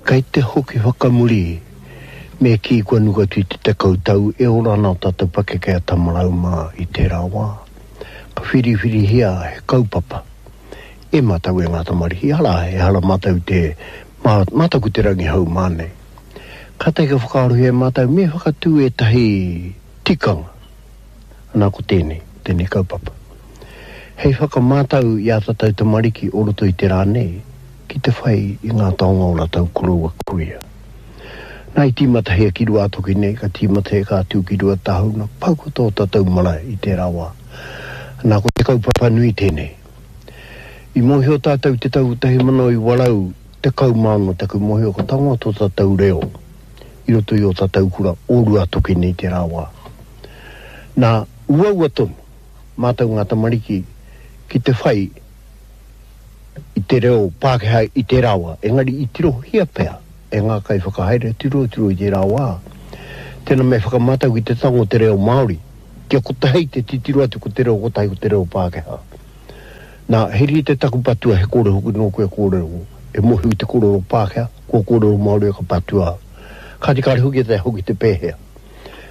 Kei te hoki whakamuri, me kī kua nuku atu i te tekau tau e ora ana ō tātou pakeke a Tamarau mā i tērā wā. Ka whiriwhirihia he kaupapa e mātou e ngā tamariki, arā, ehara mātou i te, mā, mātou ko te rangihau mā nei. Kātahi ka whakaarohia e mātou me whakatū ētahi tikanga, ana ko tēnei, tēnei kaupapa. Hei whakamātau i ā tātou tamariki o roto i te rā nei ki te whai i ngā taonga o rātou koroua kuia. Nā i tīmatahia ki Ruātoki nei, ka tīmatahia ka tū ki Ruatāhuna, pau katoa o tātou marae i tērā wā. Nā ko te kaupapa nui tēnei. I mōhio tātou i te tau 1916 taku mōhio ka tangoa tō tātou reo i roto i ō tātou kura o Ruatoki nei tērā wā. Nā, uaua tonu mātou ngā tamariki ki te whai i te reo Pākehā i tērā wā, engari i tirohia pea e ngā kaiwhakahaere tirotiro i tērā wā, tēnā me whakamātau ki te tango te reo Māori, kia kotahi te titiro atu ko te reo kotahi ko te reo Pākehā. Nā, he rite taku patua he kore hoki nōku e kōrero, e mōhio ki te kōrero Pākehā, kua kōrero Māori ka patua. Kāti kāre hoki e taea hoki te pēhea.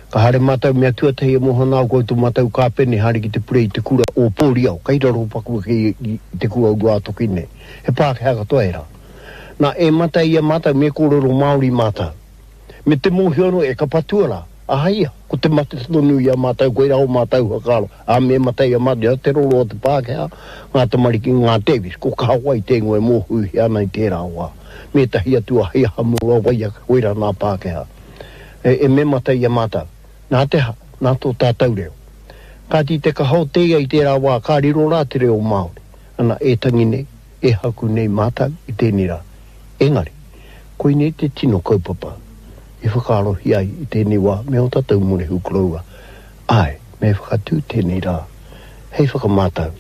Ka haere mātou mea tuatahi e moho ana au koutou mātou kāpene haere ki te purei i te kura o Pōriao, kei raro paku ake i te kura o Ruātoki nei. He Pākehā katoa ērā. Nā, e mata i a mātou me kōrero Māori mātou. Me te mōhio anō e ka patua rā. Aha ia, ko te mate tonu i a mātou, koirā ō mātou whakaaro, ā, me mate i a mātou, te roro o te Pākehā, ngā tamariki, ngā Davis, ko Kahawai te ingoa e mōhiohia ana i tērā wā, me ētahi atu a Heiahamu, a Waiake, koirā nā Pākehā. E me mate i a mātou. Nā te aha? Nā tō tātou reo. Kāti te kaha o te ia i tērā wā, ka riro rā te reo Māori. Ana, e tangi nei, e haku nei mātou i tēnei rā. Engari, koinei te tino kaupapa i whakaarohia ai i tēnei wā me ō tātou morehu koroua. Āe, me whakatū tēnei rā hei whakamātau.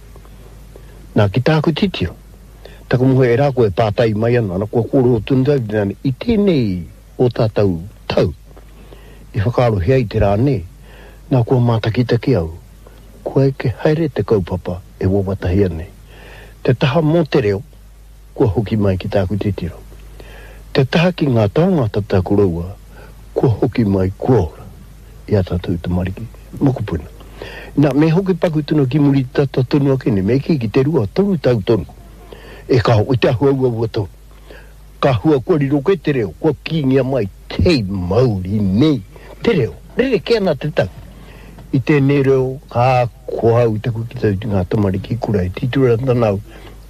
Nā, ki tāku titiro, taku moe e rā koe e pātai mai ana, ana, kua kōrero tonu au i tēnei ō tātou tau i whakaarohia ai te rā nei, nā kua mātakitaki au, kua eke haere te kaupapa e wawatahia nei. Te taha mō te reo, kua hoki mai ki tāku titiro. Te taha ki ngā taonga tata koroua, kua hoki mai kua ora i a tātou tamariki, mokopuna. Nā, me hoki paku tonu ki muri tata tonu ake nei, me kī ki te 2, toru tau tonu, e kāo, i te āhua uaua tonu. Ka hua kua riro kē te reo, kua kīngia mai te mauri nei te reo. Rerekē ana te tau. I tēnei reo ka ako au i taku kite atu ki ngā tamariki kura e titiro ana au,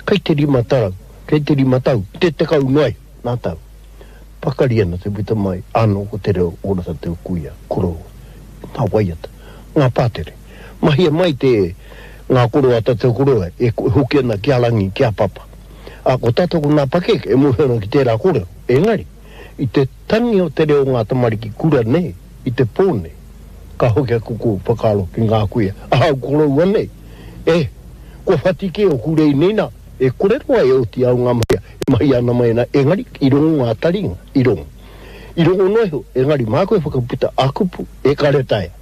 kei te 5 tau, kei te rima tau, te 10 noa iho ngā tau. Pakari ana te puta mai anō ko te reo ora tātou kuia, koroua, ngā waiata, ngā pātere. Mahia mai te ngā koro a tātou koroua e hoki ana ki a Rangi, ki a Papa. Ā, ko tātou ko ngā pakeke e mōhio ana ki tērā kōrero. Engari, i te tangi o te reo o ngā tamariki kura nei, i te pō nei, ka hoki aku ko whakaaro ki ngā kuia, ahau koroua nei, e, kua whati kē oku rei nei nā, e kore roa e oti au ngā mahi e mahia ana mai ana, engari, i rongo ngā taringa, i rongo. I rongo noa iho, engari māku e whakaputa a kupu, e kare taea.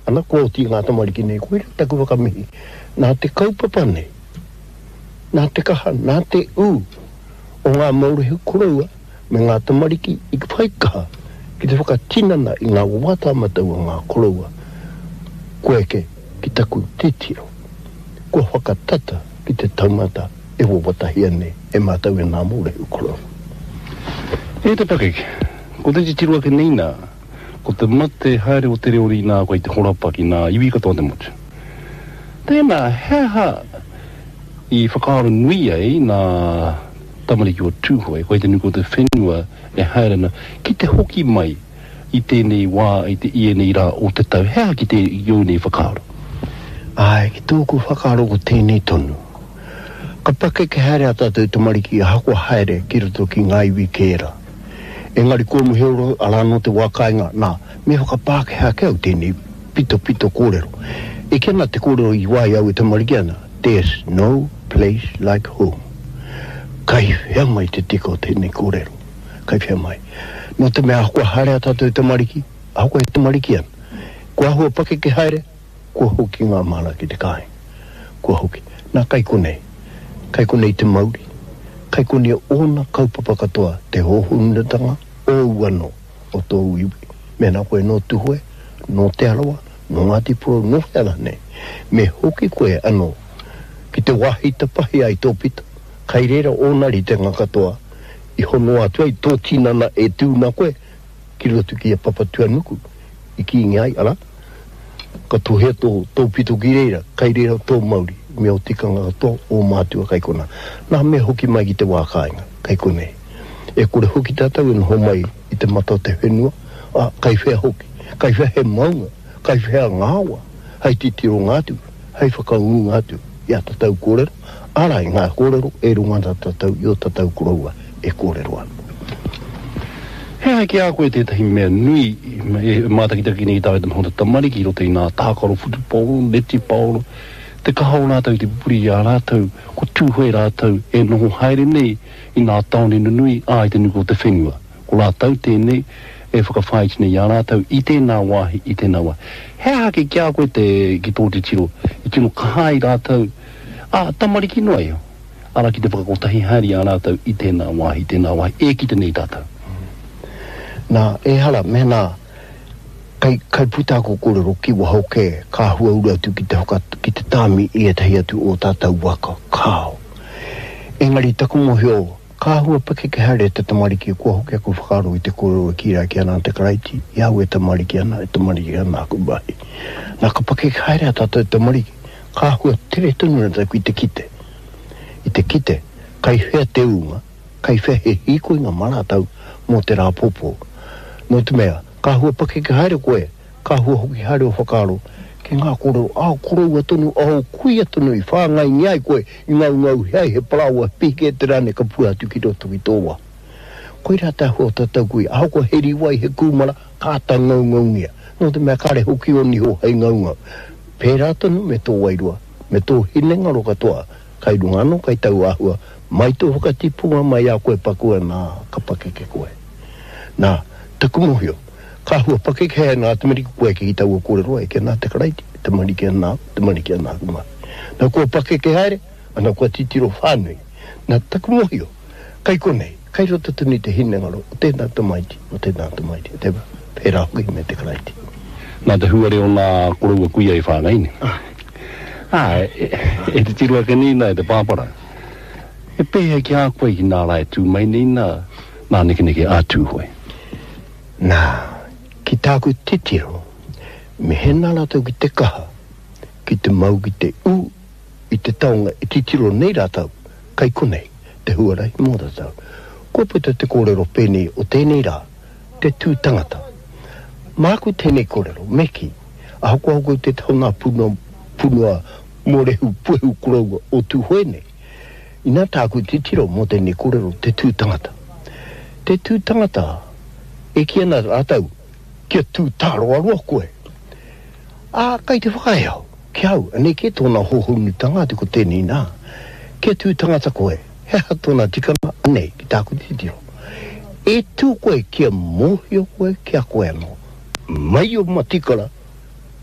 Ana, kua oti i ngā tamariki nei, koirā taku whakamihi, nā te kaupapa nei, Nā te kaha, nā te ū o ngā maurehu koroua me ngā tamariki i whai kaha ki te whakatinana i ngā wawata matau a ngā koroua, kua eke ki taku titiro, kua whakatata ki te taumata e wawatahia nei e mātou e ngā mōrehu koroua. E te pakeke, ko te titiro ake nei nā, ko te mate haere o te reo rīnā kei te horapa ki ngā iwi katoa o te motu. Tēnā, he aha i whakaaro nui ai ngā tamariki o Tūhoe, koe te nuku o te whenua e haere ana, ki te hoki mai i tēnei wā, i te, i ēnei rā o te tau, he aha ki te, ki ōu nei whakaaro? Āe, ki tōku whakaaro ko tēnei tonu. Ka pakeke haere ā tātou tamariki ahakoa haere ki roto ki ngā iwi kē rā. Engari kua muhi oro, arā nō te wā kāinga, nā, me whakapākehā ake au tēnei pitopito kōrero. E kī ana te kōrero i wā i au e tamariki ana, There's no place like home. Kai whea mai te tika o tēnei kōrero? Kai whea mai? Nō te mea ahakoa haere ā tātou tamariki, ahakoa e tamariki ana, kua āhua pakeke haere, kua hoki ngā māra ki te kāinga. Kua hoki. Nā, kai konei. Kai konei te mauri. Kai konei ōna kaupapa katoa te hōhonutanga ōu anō o tōu iwi. Mēnā koe nō Tuhoe, nō Te Arawa, nō Ngāti Porou, nō whea rānei, me hoki koe anō ki te wāhi tapahi ai tō pito, kai reira ōna ritenga katoa i honoa atu ai tō tinana e tū na koe ki roto ki a Papatuanuku i kīngi ai, arā, ka tohea tō, tō pito ki reira, kai reira tō mauri, me ō tikanga katoa, ō mātua kai konā. Nā, me hoki mai ki te wā kāinga, kai konei. E kore hoki tātou e noho mai i te mata o te whenua, ā, kai whea hoki, kai whea he maunga, kai whea ngā awa, hei titironga atu, hei whakaūnga atu i ā tātou kōrero, arā, i ngā kōrero e rongo ana tātou i ō tātou koroua e kōrero ana. He aha ki a koe tētahi mea nui e mātakitaki nei tāu te noho tamariki i roto i ngā tākaro whutupaoro, netipaoro, te kaha o rātou i te pupuri i a rātou, ko Tūhoe rātou e noho haere nei i ngā tāone nunui, ā, i te nuku o te whenua. Ko rātou tēnei e whakawhāiti nei i a rātou i tēnā wāhi, i tēnā wāhi. He aha ake ki a koe te, ki tō titiro, i tino kaha ai rātou, ā, tamariki noa iho, arā, ki te whakakotahi haere i a rātou i tēnā wāhi, i tēnā wāhi, e kite nei tātou. Nā, ehara, mēnā kai, kai puta aku kōrero ki waho kē, ka huauru atu ki te whaka, ki te tāmi i ētahi atu o tātou waka, kāo. Engari taku mōhio, Ka āhua pakeke haere te tamariki, kua hoki aku whakaaro i te kōrero e kī rā ki ana te Karaiti, i au e tamariki ana, e tamariki ana aku mahi. Nā, ka pakeke haere a tātou tamariki, ka āhua tere tonu rātou ki te kite, i te kite, kai whea te ūnga, kai whea he hīkoinga mā rātou mō te rā pōpō. Nō te mea, ka āhua pakeke haere koe, Ka hua hoki haere o whakaaro ki ngā kōrero ā koroua tonu, ā kuia tonu i whāngaingia ai koe i ngaungauhia ai he parāoa, he pihikete rānei ka pua atu ki roto ki tō waha. Koirā te āhua o tātou kuia, ahakoa he rīwai, he kūmara, ka āta ngaungaungia, nō te mea kāre hoki ō niho hei ngaungau. Pērā tonu me tō wairua, me tō hinengaro katoa, kai runga anō kai tau āhua, mai tō whakatipunga mai a koe paku ana, ka pakeke koe. Nā, taku mōhio, Ka hua pakeke hei ana tamariki koe ki taua kōrero e ki ana te Karaiti, tamariki ana au, tamariki ana aku mahi. Na kua pakeke haere, ana kua titiro whānui. Na taku mohio, kai konei, kai roto tonu i te hinengaro o tēnā tamaiti, o tēnā tamaiti, o tēnā, pērā hoki me te Karaiti. Nā te huare o nā koroua kuia i whāngai nei. Ā, e titiro ake nei nā e te pāpara. E pēhea ki a koe ki nā rā e tū mai nei nā, nā nekeneke a Tūhoe? Nā, ki tāku titiro, mehena rātou ki te kaha, ki te mau ki te ū i te taonga e titiro nei rātou, kai konei te huarahi mō rātou. Kua puta te kōrero pēnei o tēnei rā, te tū tangata. Māku tēnei kōrero, me kī, ahakoa hoki te taonga punua, punua mōrehu puehu koroua o Tūhoe nei, Inā tāku titiro mō tēnei kōrero, te tū tangata. Te tū tangata, e kī ana rātou, kia tū tāroaroa koe. Ā, kai te whakaae au, ki au, anei kē tōna hōhonutanga atu ko tēnei nā, kia tū tangata koe, he aha tōna tikanga, anei, ki tāku titiro. E tū koe kia mōhio koe ki a koe anō, mai o matikara,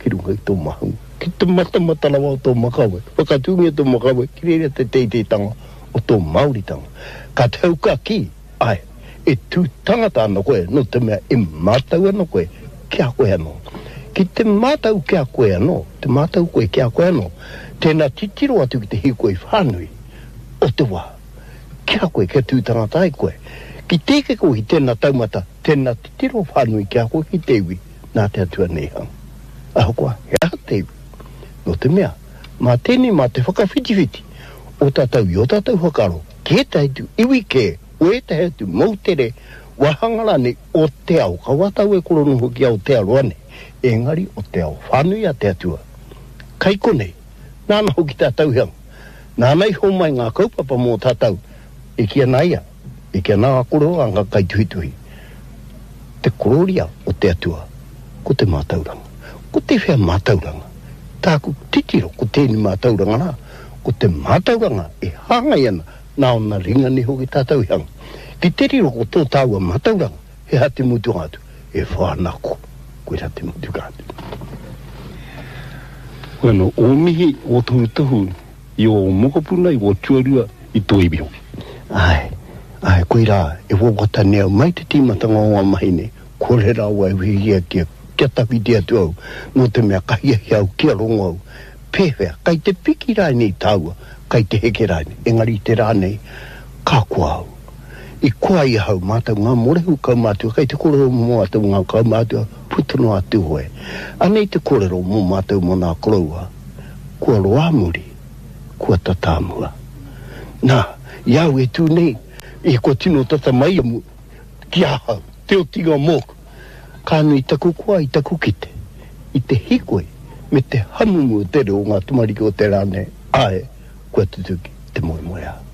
ki runga i tō mahu, ki te matamata rawa o tō makawe, whakatūngia tō makawe ki reira te teiteitanga o tō Māoritanga. Ka tau ka kī, āe, e tū tangata ana koe nō te mea e mātau ana koe ki a koe anō. Ki te mātau ki a koe anō, te mātau koe ki a koe anō, tēnā titiro atu ki te hīkoi whānui o te wā. Ki a koe, kia tū tangata ai koe. Ki te eke koe ki tēnā taumata, tēnā titiro whānui ki a koe ki te iwi, nā te Atua nei hanga. Ahakoa he aha te iwi, nō te mea, mā tēnei mā te whakawhitiwhiti o tātou i ō tātou whakaaro ki ētahi atu iwi kē, o ētahi atu moutere, wāhanga rānei o te ao, kaua tāu e koronoho ki Aotearoa nei, engari o te ao whānui a te Atua. Kai konei, nāna hoki tātou i hanga, nāna i homai ngā kaupapa mō tātou, e kī ana ia, E kī ana ngā kōrero a ngā kaituhituhi, Te korōria o te Atua, ko te mātauranga. Ko tēwhea mātauranga? Tāku titiro ko tēnei mātauranga rā, ko te mātauranga e hāngai ana nā ōna ringa nei hoki tātou i hanga. Ki te riro ko tō tāua mātauranga, he aha te mutunga atu? E whānako. Koirā te mutunga atu. Bueno, ō mihi, ō tohutohu i ō mokopuna, i ō tuarua, i tō iwi hoki. Āe, āe, koirā e wawata nei au mai te tīmatanga o ngā mahi nei, kore rawa e hiahia kia, kia tawhiti atu au, nō te mea ka hiahia au kia rongo au, pēwhea, kai te piki rānei tāua, kai te heke rānei, engari i te rā nei, ka koa au. I koa i ahau mātou ngā morehu kaumātua, kai te kōrero mō mātou ngā kaumātua puta noa a Tūhoe. Anei te kōrero mō mātou mō nā koroua, kua roa muri, kua tata mua. Nā, i a au e tū nei, i kua tino tata mai a ki ahau, te otinga mōku. Ka nui taku koa i taku kite, i te hikoi me te hamumu o te reo o ngā tamariki o te rā nei, āe, kua tutuki te moemoeā.